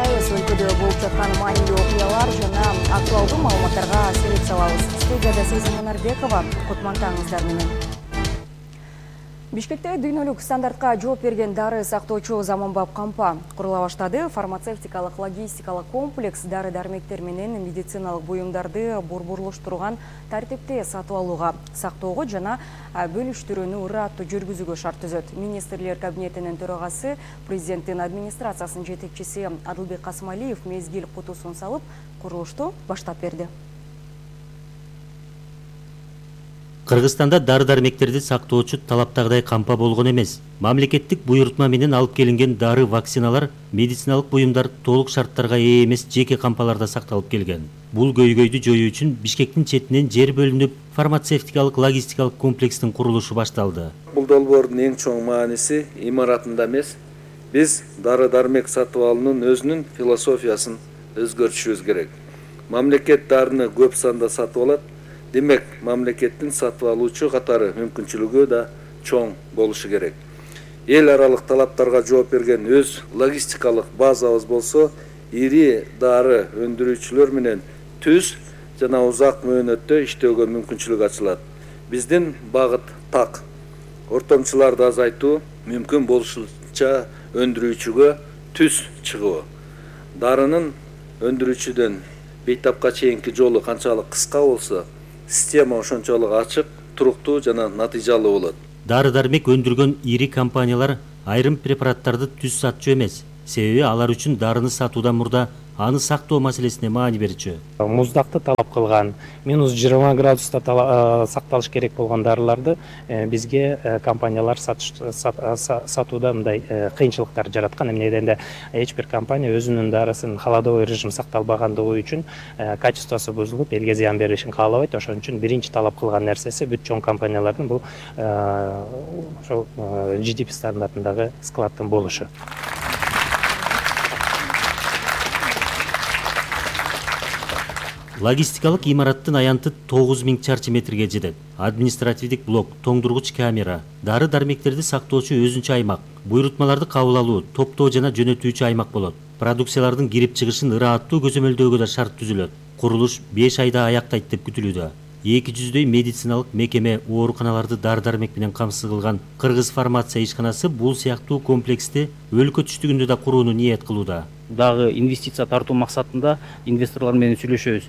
баштайбыз. Өлкөдө болуп жаткан маанилүү окуялар жана актуалдуу маалыматтарга селек салабыз. Студияда Сезим Мунарбекова, кутмантаңыздар менен. Бишкекте дүйнөлүк стандартка жооп берген дары сактоочу заманбап кампа курула баштады. Фармацевтикалык логистикалык комплекс дары-дармектер менен медициналык буюмдарды борборлоштурган тартипте сатып алууга, сактоого жана бөлүштүрүүнү ыраттуу жүргүзүүгө шарт түзөт. Министрлер кабинетинин төрагасы, президенттин администрациясынын жетекчиси Адылбек Касымалиев мезгил кутусун салып, курулушту баштап берди. Кыргызстанда дары-дармектерди сактоочу талаптагыдай кампа болгон эмес. Мамлекеттик буйрутма менен алып келинген дары, вакциналар, медициналык буюмдар толук шарттарга ээ эмес жеке кампаларда сакталып келген. Бул көйгөйдү жоюу үчүн Бишкектин четинен жер бөлүнүп, фармацевтикалык логистикалык комплекстин курулушу башталды. Бул долбоордун эң чоң мааниси имаратында эмес, биз дары-дармек сатып алуунун өзүнүн философиясын өзгөртүшүбүз керек. Мамлекет дарыны көп санда сатып алат. Демек, мамлекеттин сатып алуучу катары мүмкүнчүлүгү да чоң болушу керек. Эл аралык талаптарга жооп берген өз логистикалык базабыз болсо, ири дары өндүрүүчүлөр менен түз жана узак мөөнөттө иштөөгө мүмкүнчүлүк ачылат. Биздин багыт так. Ортомчуларды азайтуу, мүмкүн болушунча өндүрүүчүгө түз чыгуу. Дарынын өндүрүүчүдөн бейтапка чейинки жолу канчалык кыска болсо, система ошончолук ачык, туруктуу жана натыйжалуу болот. Дары-дармек өндүргөн ири компаниялар айрым препараттарды түз сатчу эмес. Себеби алар үчүн дарыны сатуудан мурда аны сактоо маселесине маани берчү. Муздакты талап кылган, -20 градуста сакталыш керек болгон дарыларды бизге компаниялар сатууда мындай кыйынчылыктар жараткан. Эмне дегенде эч бир компания өзүнүн дарысын холодовой режим сакталбагандыгы үчүн качествосу бузулуп, элге зыян беришин каалабайт. Ошон үчүн биринчи талап кылган нерсеси бүт чоң компаниялардын бул ошол GDP стандартындагы складдын болушу. Логистикалык имараттын аянты 9000 чарчы метрге жетет. Административдик блок, тоңдургуч камера, дары-дармектерди сактоочу өзүнчө аймак, буйрутмаларды кабыл алуу, топтоо жана жөнөтүүчү аймак болот. Продукциялардын кирип чыгышын ыраттуу көзөмөлдөөгө да шарт түзүлөт. Курулуш 5 айда аяктайт деп күтүлүүдө. 200дөй медициналык мекеме, ооруканаларды дары-дармек менен камсыз кылган Кыргыз фармация ишканасы бул сыяктуу комплексти өлкө түштүгүндө да курууну ниет кылууда. Дагы инвестиция тартуу максатында инвесторлор менен сүйлөшөбүз.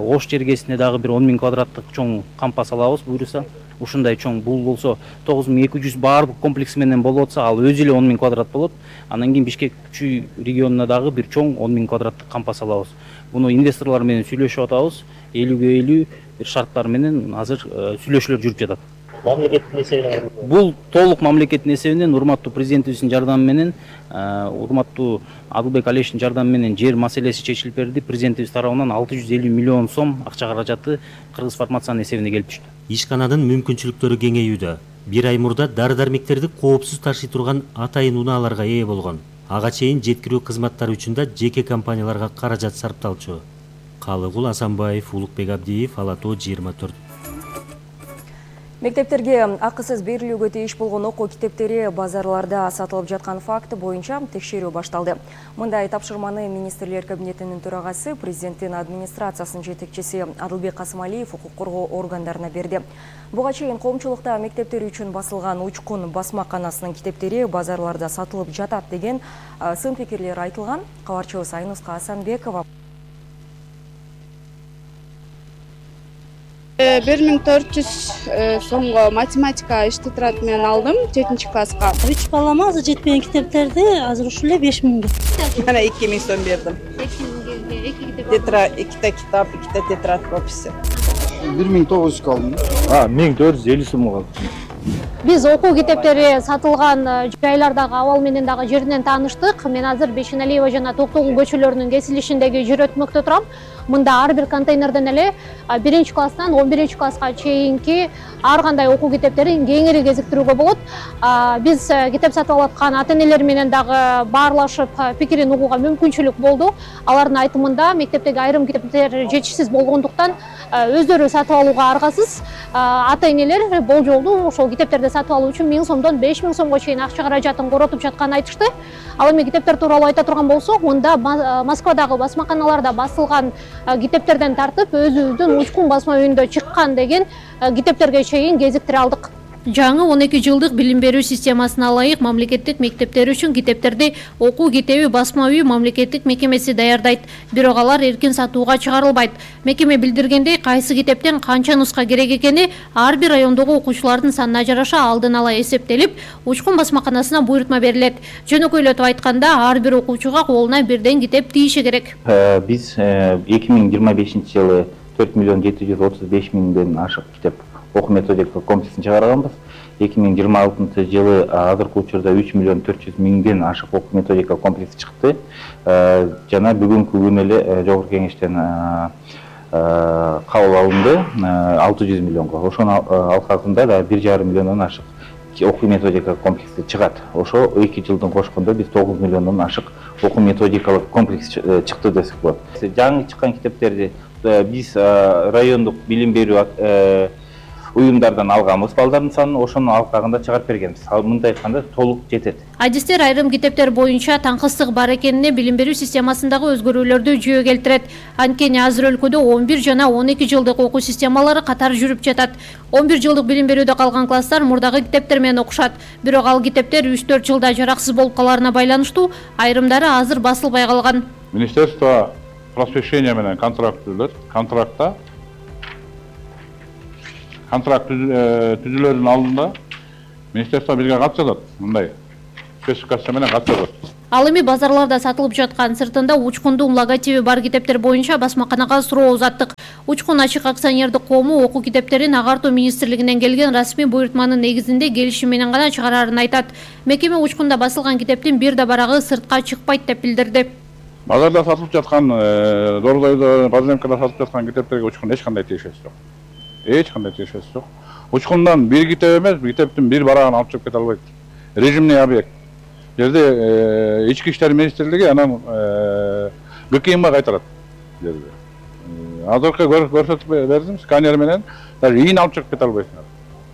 Ош жергесине дагы бир 10 000 квадраттык чоң кампа салабыз буюрса. Ушундай чоң бул болсо 9200 баардык комплекс менен болуп атса, ал өзү эле 10 000 квадрат болот. Андан кийин Бишкек Күчүй регионуна дагы бир чоң 10 000 квадраттык кампа салабыз. Буну инвесторлор менен сүйлөшүп атабыз. 50/50 бир шарттар менен азыр сүйлөшүүлөр жүрүп жатат. Мамлекеттин эсебинен Бул толук мамлекеттин эсебинен, урматтуу президентибиздин жардамы менен, урматтуу Адылбек Алиевичтин жардамы менен жер маселеси чечилип берди. Президентибиз тарабынан 650 миллион сом акча каражаты Кыргыз фармациянын эсебине келип түштү. Ишкананын мүмкүнчүлүктөрү кеңейүүдө. Бир ай мурда дары-дармектерди коопсуз ташый турган атайын унааларга ээ болгон. Ага чейин жеткирүү кызматтары үчүн да жеке компанияларга каражат сарпталчу. Калыгул Асанбаев, Улукбек Абдиев, Ала Тоо 24. Мектептерге акысыз берилүүгө тийиш болгон окуу китептери базарларда сатылып жаткан факты боюнча текшерүү башталды. Мындай тапшырманы Министрлер кабинетинин төрагасы, президенттин администрациясынын жетекчиси Адылбек Касымалиев укук коргоо органдарына берди. Буга чейин коомчулукта мектептер үчүн басылган Учкун басмаканасынын китептери базарларда сатылып жатат деген сын пикирлер айтылган. Кабарчыбыз Айнуска Асанбекова 1400 сомго математика иш тетрадь менен алдым 7-класска. 3 балама азыр жетпеген китептерди азыр ушул эле 5000. Мана 2000 сом бердим. 2 китап, 2 тетрадь описи. 1900 алдым. 1450 сомго алдым. Биз окуу китептери сатылган жайлардагы абал менен дагы жеринен тааныштык. Мен азыр Бешеналиева жана Токтогул көчөлөрүнүн кесилишиндеги жер өтмөктө турам. Мында ар бир контейнерден эле 1-класстан 11-класска чейинки ар кандай окуу китептерин кеңири кезиктирүүгө болот. Биз китеп сатып алып аткан ата-энелер менен дагы баарлашып пикирин угууга мүмкүнчүлүк болду. Алардын айтымында мектептеги айрым китептер жетишсиз болгондуктан өздөрү сатып алууга аргасыз. Ата-энелер бул жолду ошол китептерди китептерди сатып алуу үчүн 1000 сомдон 5000 сомго чейин акча каражатын коротуп жатканын айтышты. Ал эми китептер тууралуу айта турган болсок, мында Москвадагы басмаканаларда басылган китептерден тартып өзүбүздүн Учкун басма үйүндө чыккан деген китептерге чейин кезиктире алдык. Жаңы 12 жылдык билим берүү системасына ылайык мамлекеттик мектептер үчүн китептерди окуу китеби басма үй мамлекеттик мекемеси даярдайт. Бирок алар эркин сатууга чыгарылбайт. Мекеме билдиргендей, кайсы китептен канча нуска керек экени ар бир райондогу окуучулардын санына жараша алдын ала эсептелип, Учкун басмаканасына буйрутма берилет. Жөнөкөйлөтүп айтканда, ар бир окуучуга колуна бирден китеп тийиши керек. Биз 2025 жылы 4 миллион 735 миңден ашык китеп окуу методика комплексин чыгарганбыз. 2026 жылы азыркы учурда 3 миллион 400 миңден ашык окуу методика комплекси чыкты. Жана бүгүнкү күнү эле жогорку кеңештен кабыл алынды 600 миллионго. Ошонун алкагында да 1,5 миллиондон ашык окуу методика комплекси чыгат. Ошо 2 жылдын кошкондо биз 9 миллиондон ашык окуу методикалык комплекс чыкты десек болот. Жаңы чыккан китептерди биз райондук билим берүү уюмдардан алганбыз балдардын санын, ошонун алкагында чыгарып бергенбиз. Ал мындай айтканда толук жетет. Адистер айрым китептер боюнча таңкыстык бар экенине билим берүү системасындагы өзгөрүүлөрдү жүйө келтирет. Анткени азыр өлкөдө 11 жана 12 жылдык окуу системалары катар жүрүп жатат. 11 жылдык билим берүүдө калган класстар мурдагы китептер менен окушат. Бирок ал китептер 3-4 жылда жараксыз болуп каларына байланыштуу, айрымдары азыр басылбай калган. Министерство просвещения менен контракт түзүлөрүнүн алдында министерство бизге кат жазат, мындай спецификация менен кат жазат. Ал эми базарларда сатылып жаткан сыртында Учкундун логотиби бар китептер боюнча басмаканага суроо узаттык. Учкун ачык акционердик коому окуу китептерин Агартуу министрлигинен келген расмий буйрутманын негизинде келишим менен гана чыгарарын айтат. Мекеме Учкунда басылган китептин бир да барагы сыртка чыкпайт деп билдирди. Базарда сатылып жаткан, Дордойдо, Баземкада сатылып жаткан китептерге Учкун эч кандай тиешеси жок. Учкундан бир китеп эмес, китептин бир барагын алып чыгып кете албайт. Режимный объект. Жерде ички иштер министрлиги анан ГКМга кайтарат. Азыркы көрсөтүп бердим, сканер менен даже ийин алып чыгып кете албайсыңар.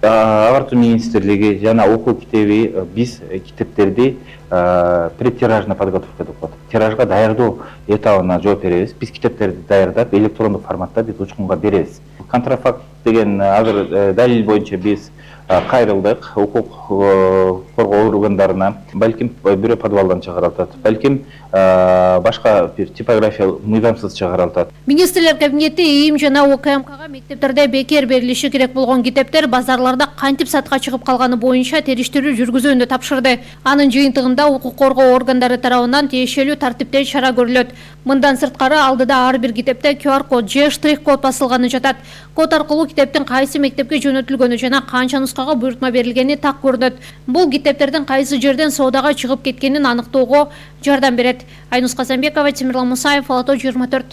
Агартуу министрлиги жана окуу китеби биз китептерди предтиражный подготовка деп коет. Тиражга даярдоо этабына жооп беребиз. Биз китептерди даярдап электрондук форматта биз Учкунга беребиз. Контрафакт деген азыр далил боюнча биз кайрылдык укук коргоо органдарына, балким бирөө подвалдан чыгарылат, балким башка бир типография мыйзамсыз чыгарылат. Министрлер кабинети ИИМ жана ОКМКга мектептерде бекер берилиши керек болгон китептер базарларда кантип сатка чыгып калганы боюнча териштирүү жүргүзүүнү тапшырды. Анын жыйынтыгында укук коргоо органдары тарабынан тиешелүү тартипте чара көрүлөт. Мындан сырткары алдыда ар бир китепте QR код же штрих код басылганы жатат. Код аркылуу китептин кайсы мектепке жөнөтүлгөнү жана канча нускага буйрутма берилгени так көрүнөт. Бул китептердин кайсы жерден соодага чыгып кеткенин аныктоого жардам берет. Айнус Казанбекова, Темирлан Мусаев, Ала Тоо 24.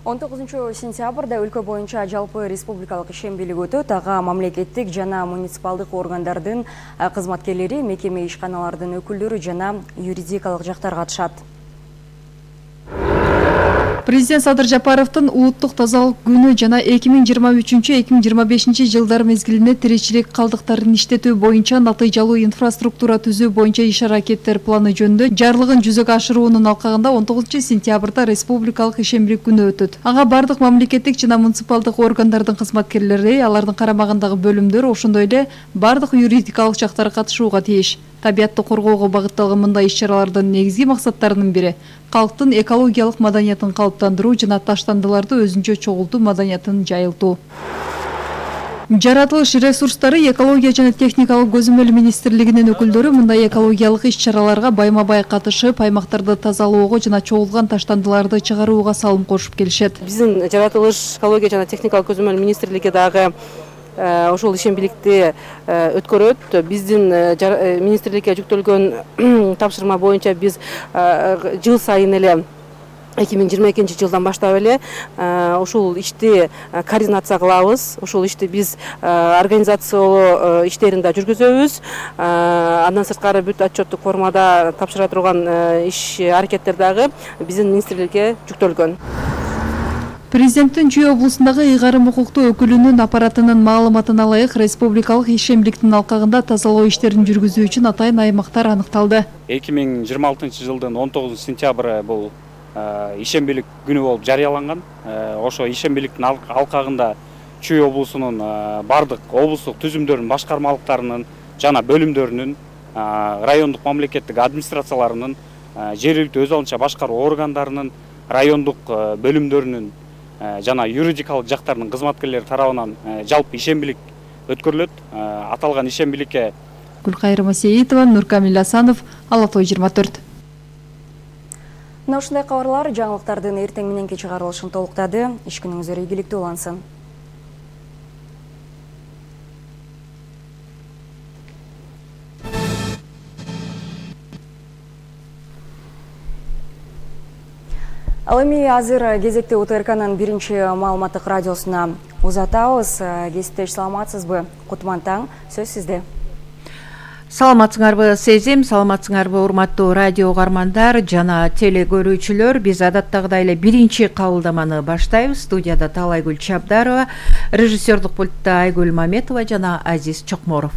19 сентябрда өлкө боюнча жалпы республикалык ишембилик өтөт. Ага мамлекеттик жана муниципалдык органдардын кызматкерлери, мекеме ишканалардын өкүлдөрү жана юридикалык жактар катышат. Президент Садыр Жапаровдун улуттук тазалык күнү жана 2023-2025 жылдар мезгилинде тиричилик калдыктарын иштетүү боюнча натыйжалуу инфраструктура түзүү боюнча иш-аракеттер планы жөнүндө жарлыгын жүзөгө ашыруунун алкагында 19 сентябрда республикалык ишембилик күнү өтөт. Ага бардык мамлекеттик жана муниципалдык органдардын кызматкерлери, алардын карамагындагы бөлүмдөр, ошондой эле бардык юридикалык жактар катышууга тийиш. Табиатты коргоого багытталган мындай иш-чаралардын негизги максаттарынын бири калктын экологиялык маданиятын калыптандыруу жана таштандыларды өзүнчө чогултуу маданиятын жайылтуу. Жаратылыш ресурстары, экология жана техникалык көзөмөл министрлигинин өкүлдөрү мындай экологиялык иш-чараларга байма-бай катышып, аймактарды тазалоого жана чогулган таштандыларды чыгарууга салым кошуп келишет. Биздин жаратылыш, экология жана техникалык көзөмөл министрлиги дагы ошол ишембиликти өткөрөт. Биздин министрликке жүктөлгөн тапшырма боюнча биз жыл сайын эле 2022 жылдан баштап эле ушул ишти координация кылабыз. Ушул ишти биз организациялоо иштерин да жүргүзөбүз. Андан сырткары бүт отчеттук формада тапшыра турган иш аракеттер дагы биздин министрликке жүктөлгөн. Президенттин Чүй облусундагы ыйгарым укуктуу өкүлүнүн аппаратынын маалыматына ылайык республикалык ишембиликтин алкагында тазалоо иштерин жүргүзүү үчүн атайын аймактар аныкталды. 2026 жылдын 19 сентябры бул ишембилик күнү болуп жарыяланган. Ошо ишембиликтин алкагында Чүй облусунун бардык облустук түзүмдөрдүн башкармалыктарынын жана бөлүмдөрүнүн, райондук мамлекеттик администрацияларынын, жергиликтүү өз алынча башкаруу органдарынын, райондук бөлүмдөрүнүн жана юридикалык жактардын кызматкерлери тарабынан жалпы ишембилик өткөрүлөт. Аталган ишембиликке Гүлкайыр Масеитова, Нуркамил Асанов, Ала Той 24. Мына ушундай кабарлар жаңылыктардын эртең мененки чыгарылышын толуктады. Иш күнүңүздөр ийгиликтүү улансын. Ал эми азыр кезекте УТРКнын биринчи маалыматтык радиосуна узатабыз. Кесиптеш саламатсызбы? Кутман таң, сөз сизде. Саламатсыңарбы Сезим, саламатсыңарбы урматтуу радио угармандар жана теле көрүүчүлөр. Биз адаттагыдай эле биринчи кабылдаманы баштайбыз. Студияда Талайгүл Чабдарова, режиссердук пультта Айгүл Маметова жана Азиз Чокморов.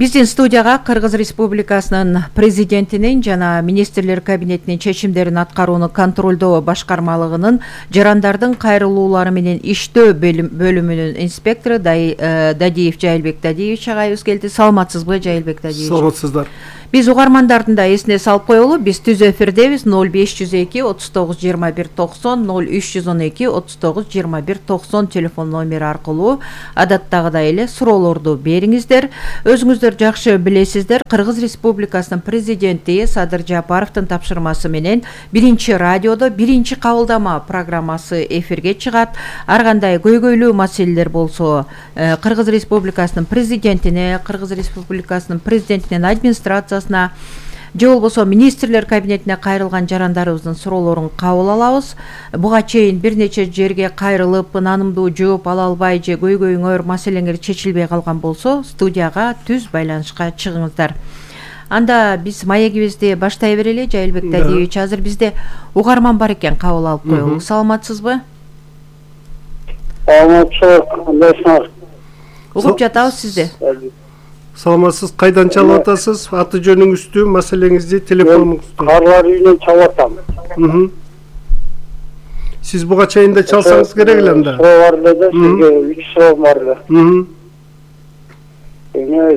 Биздин студияга Кыргыз Республикасынын президентинин жана министрлер кабинетинин чечимдерин аткарууну контролдоо башкармалыгынын жарандардын кайрылуулары менен иштөө бөлүмүнүн инспектору Дадиев Жайылбек Дадиевич агайыбыз келди. Саламатсызбы, Жайылбек Дадиевич? Саламатсыздар. Биз угармандардын да эсине салып коелу, биз түз эфирдебиз. 0502 39 21 90 0312 39 21 90 телефон номери аркылуу адаттагыдай эле суроолорду бериңиздер. Өзүңүздөр жакшы билесиздер, Кыргыз Республикасынын президенти Садыр Жапаровдун тапшырмасы менен биринчи радиодо биринчи кабылдама программасы эфирге чыгат. Ар кандай көйгөйлүү маселелер болсо Кыргыз Республикасынын президентине, Кыргыз Республикасынын президентинин администрациясына же болбосо министрлер кабинетине кайрылган жарандарыбыздын суроолорун кабыл алабыз. Буга чейин бир нече жерге кайрылып, ынанымдуу жооп ала албай же көйгөйүңөр, маселеңер чечилбей калган болсо, студияга түз байланышка чыгыңыздар. Анда биз маегибизди баштай берели. Жайылбек Дадиевич, азыр бизде угарман бар экен, кабыл алып коелу. Саламатсызбы? Саламатсызбы. Угуп жатабыз сизди. Саламатсыз, кайдан чалып атасыз? Аты жөнүңүздү, маселеңизди, телефонуңузду. Карлар үйүнөн чалып атам. Сиз буга чейин да чалсаңыз керек эле анда. Суроо бар эле, сизге 3 суроо бар эле.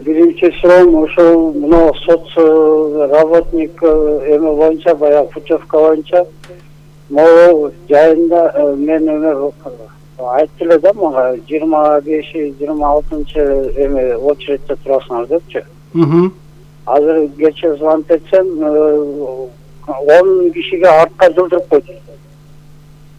Биринчи суроом ошол мына соц работник эме боюнча, баягы путевка боюнча могу жайында мен эме айтты эле да мага 25-26 эме очередте турасыңар депчи. Азыр кечээ звонок этсем 10 кишиге артка жылдырып койду.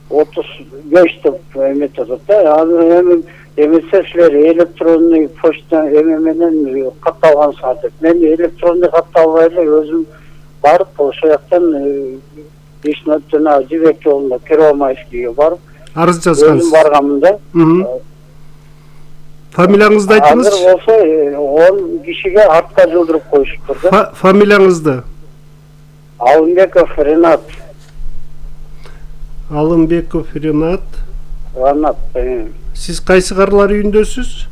35 деп эметип да. Азыр эмесе силер электронный почта эме менен катталгансыңар деп. Мен электронный катталбай эле өзүм барып ошол жактан ишнотуна Жибек жолунда Первомайскийге барып арыз жазгансыз. Өзүм барганмын да. Фамилияңызды айтыңыз. Азыр болсо 10 кишиге артка жылдырып коюшуптур да. Фамилияңызды? Алымбеков Ренат. Алымбеков Ренат. Ренат. Сиз кайсы карлар үйүндөсүз?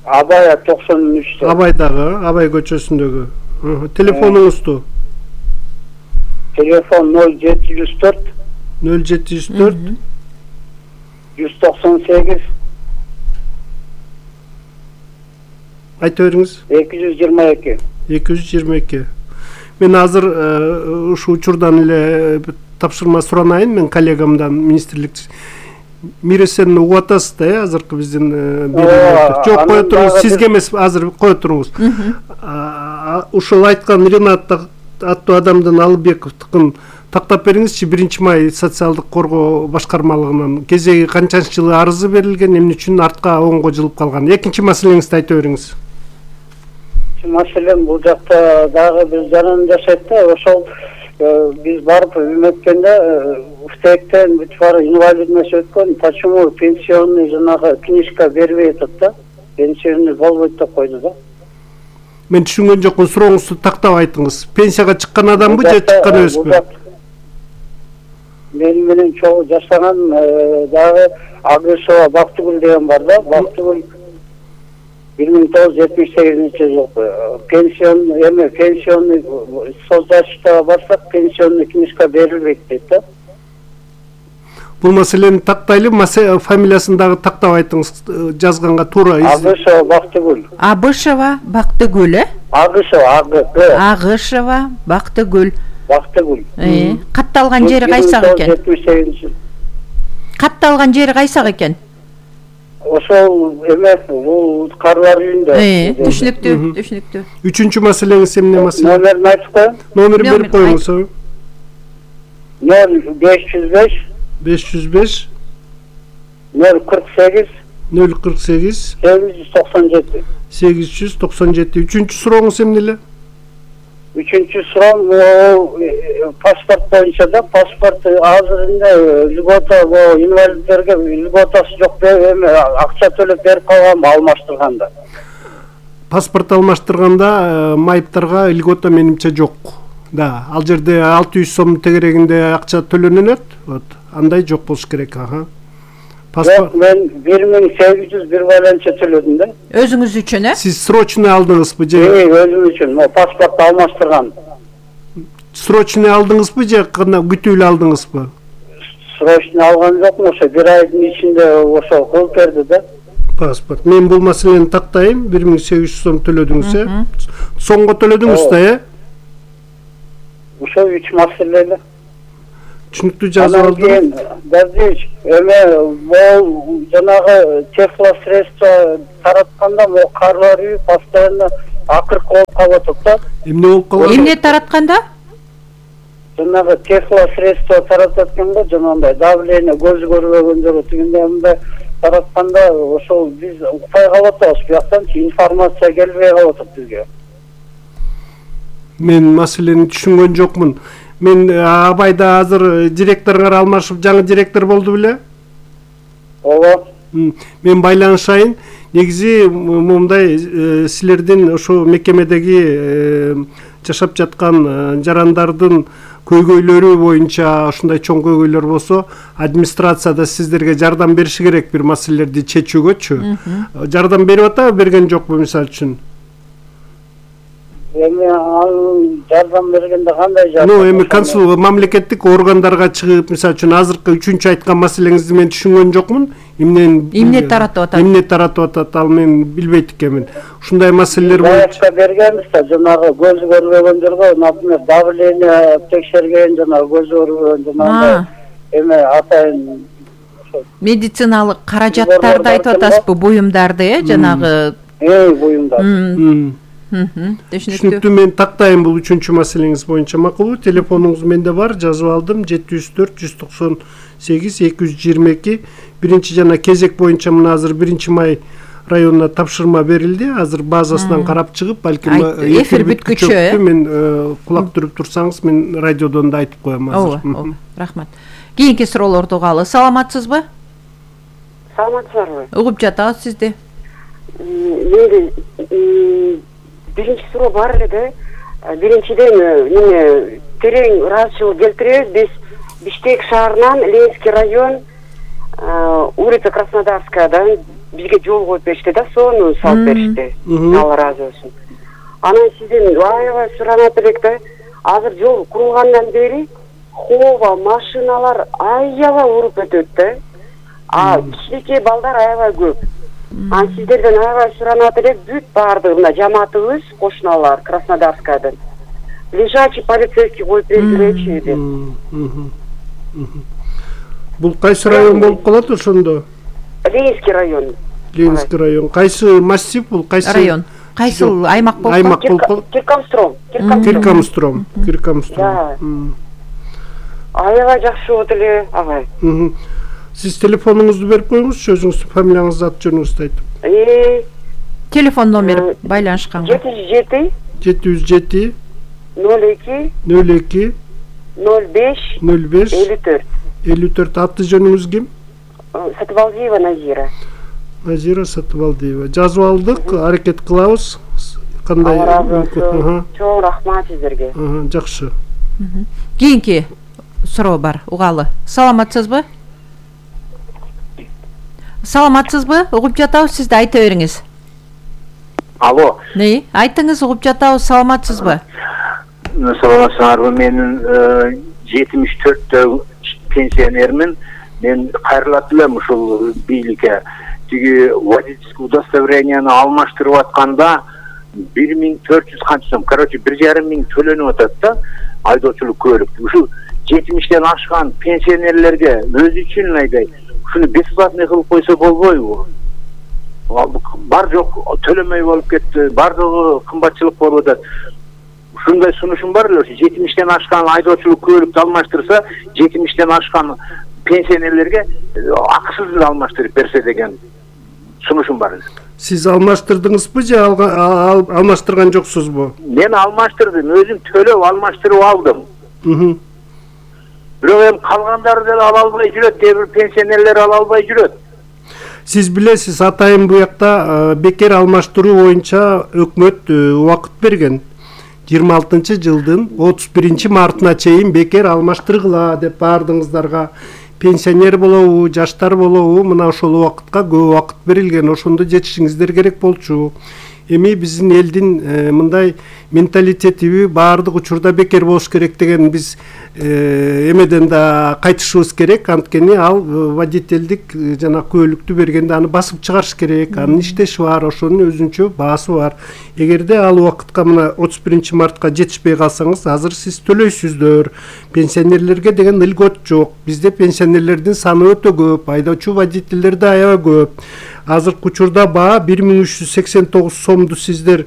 Абай 93-тө. Абайдагы, Абай көчөсүндөгү. Телефонуңузду? Телефон 0704 0704 198 айта бериңиз. 222. 222. Мен азыр ушу учурдан эле тапшырма суранайын мен коллегамдан, министрлик Миресен угуп атасыз да, азыркы биздин жок, кое туруңуз, сизге эмес, азыр кое туруңуз. Ушул айткан Ренат аттуу адамдын Алыбековдукун тактап бериңизчи. 1-май социалдык коргоо башкармалыгынан кезеги канчанчы жылы арызы берилген, эмне үчүн артка оңго жылып калган? Экинчи маселеңизди айта бериңиз. Маселем бул жакта дагы бир жаран жашайт да, ошол биз барып үмөткөндө уфтектен бүт бар инвалидность өткөн, почему пенсионный жанагы книжка бербей атат да, пенсионный болбойт деп койду да. Мен түшүнгөн жокмун, сурооңузду тактап айтыңыз. Пенсияга чыккан адамбы же чыккан эмеспи? Мен менен чогуу жашаган дагы Агышова Бактыгүл деген бар да. Бактыгүл 1978-жылы пенсионный соцзащитага барсак, пенсионный книжка берилбейт дейт да. Бул маселени тактайлы, фамилиясын дагы тактап айтыңыз, жазганга туура. Агышова Бактыгүл. Абышева Бактыгүл, Агышова, Агышева Бактыгүл. Бактыгүл. Катталган жери кайсак экен? 1978. Катталган жери кайсак экен? Ошол эмес, бул карлар үйүндө. Түшүнүктүү. Үчүнчү маселеңиз эмне маселе? Номерин айтып коеюн. Номерин берип коюңуз. 0505 505 048 048 897. 897. Үчүнчү сурооңуз эмне эле? Үчүнчү суроом паспорт боюнча да. Паспорт азыр льгота инвалидтерге льготасы жок, эми акча төлөп берип калган, алмаштырганда. Паспорт алмаштырганда майыптарга льгота менимче жок. Да, ал жерде 600 сом тегерегинде акча төлөнөт. Вот, андай жок болуш керек, Паспорт мен 1800 бир байланча төлөдүм да. Өзүңүз үчүн, Сиз срочный алдыңызбы же? Өзүм үчүн. Паспортты алмаштырган. Срочный алдыңызбы же күтүүлүү алдыңызбы? Срочный алган жокмун, ошо бир айдын ичинде ошо кылып берди да. Паспорт. Мен бул маселени тактайм. 1800 сом төлөдүңүз, Сомго төлөдүңүз да, Ошо 3 маселе эле. Түшүнүктүү жазып алдым. Газич, бул жанагы теплосредство таратканда бул карлар үй постоянно акыркы болуп калып атат да. Эмне болуп калат? Эмне таратканда? Жанагы теплосредство таратат экен, жанагындай давление көз көрбөгөн жери тигинде мындай таратканда ошол биз укпай калып атабыз, бияктан информация келбей калып атат бизге. Мен маселени түшүнгөн жокмун. Мен Абайда азыр директоруңар алмашып, жаңы директор болду беле? Ооба. Мен байланышайын. Негизи мындай силердин ошо мекемедеги жашап жаткан жарандардын көйгөйлөрү боюнча ушундай чоң көйгөйлөр болсо, администрацияда сиздерге жардам бериши керек бир маселелерди чечүүгөчү. Жардам берип атабы, берген жокпу мисалы үчүн? Эми жардам бергенде кандай жардам? Эми консул мамлекеттик органдарга чыгып, мисалы үчүн азыркы үчүнчү айткан маселеңизди мен түшүнгөн жокмун. Эмне таратып атат? Эмне таратып атат, ал мен билбейт экенмин. Ушундай маселелер боюнча бергенбиз да, жанагы көз көрбөгөн жерге, например, давление текшерген, жанагы көз көрбөгөн, жанагы эме атайын медициналык каражаттарды айтып атасызбы, буюмдарды, жанагы буюмдар. Түшүнүктүү, мен тактайм бул үчүнчү маселеңиз боюнча. Макулбу, телефонуңуз менде бар, жазып алдым. 704 198 222. Биринчи жана кезек боюнча мына азыр 1-май районуна тапшырма берилди. Азыр базасынан карап чыгып, балким эфир бүткүчө мен кулак түрүп турсаңыз, мен радиодон да айтып коем азыр. Ооба, рахмат. Кийинки суроолорду угалы. Саламатсызбы? Саламатсыздарбы? Угуп жатабыз сизди. Менде биринчи суроо бар эле да. Биринчиден терең ыраазычылык келтиребиз. Биз Бишкек шаарынан Ленинский район, улица Краснодарскаядан бизге жол коюп беришти да, соону салып беришти. Алла ыраазы болсун. Анан сизден аябай суранат элек да. Азыр жол курулгандан бери хооба машиналар аябай уруп өтөт да. Кичинекей балдар аябай көп. Сиздерден аябай суранат элек, бүт баардыгына жамаатыбыз, кошуналар Краснодарскаядан лежачий полицейский коюп бергилечи деп. Бул кайсы район болуп калат ошондо? Ленинский район. Ленинский район. Кайсы массив бул? Кайсы район? Кайсы аймак болуп калат? Аймак болуп калат. Киркамстром. Аябай жакшы болот эле, агай. Сиз телефонуңузду берип коюңузчу, өзүңүздүн фамилияңызды, ат жөнүңүздү айтып. Телефон номери байланышканга. 707 02 05 54. Аты жөнүңүз ким? Сатыбалдиева Назира. Назира Сатыбалдиева. Жазып алдык, аракет кылабыз. кандай? Алла разы болсун. Чоң рахмат сиздерге. Жакшы. Кийинки суроо бар, угалы. Саламатсызбы? Саламатсызбы? Угуп жатабыз, сиз да айта бериңиз. Алло. Не? Айтыңыз, угуп жатабыз, саламатсызбы? Саламатсыздарбы? Мен 74 пенсионермин. Мен кайрылат элем ушул бийликке. Тиги водительский удостоверениени алмаштырып атканда 1400 канча сом, короче, 1,5 миң төлөнүп атат да, айдоочулук көлүк. Ушул 70-тен ашкан пенсионерлерге өзү үчүн мындай ушуну бесплатный кылып койсо болбойбу? Бар жок төлөмөй болуп кетти, бардыгы кымбатчылык болуп атат. Ушундай сунушум бар эле, 70-тен ашкан айдоочулук көлүктү алмаштырса, 70-тен ашкан пенсионерлерге акысыз эле алмаштырып берсе деген сунушум бар эле. Сиз алмаштырдыңызбы же алмаштырган жоксузбу? Мен алмаштырдым, өзүм төлөп алмаштырып алдым. Бирок эми калгандары деле ала албай жүрөт, кээ бир пенсионерлер ала албай жүрөт. Сиз билесиз, атайын буякта бекер алмаштыруу боюнча өкмөт убакыт берген. 26-жылдын 31-мартына чейин бекер алмаштыргыла деп баардыгыңыздарга. Пенсионер болобу, жаштар болобу, мына ошол убакытка көп убакыт берилген. Ошондо жетишиңиздер керек болчу. Эми биздин элдин мындай менталитетиби баардык учурда бекер болуш керек деген биз эмеден да кайтышыбыз керек. Анткени ал водительдик жана көлүктү бергенде аны басып чыгарыш керек. Анын иштеши бар, ошонун өзүнчө баасы бар. Эгерде ал убакытка мына 31-мартка жетишпей калсаңыз, азыр сиз төлөйсүздөр. Пенсионерлерге деген ылгот жок. Бизде пенсионерлердин саны өтө көп, айдоочу водительдер да аябай көп. Азыркы учурда баа 1389 сомду сиздер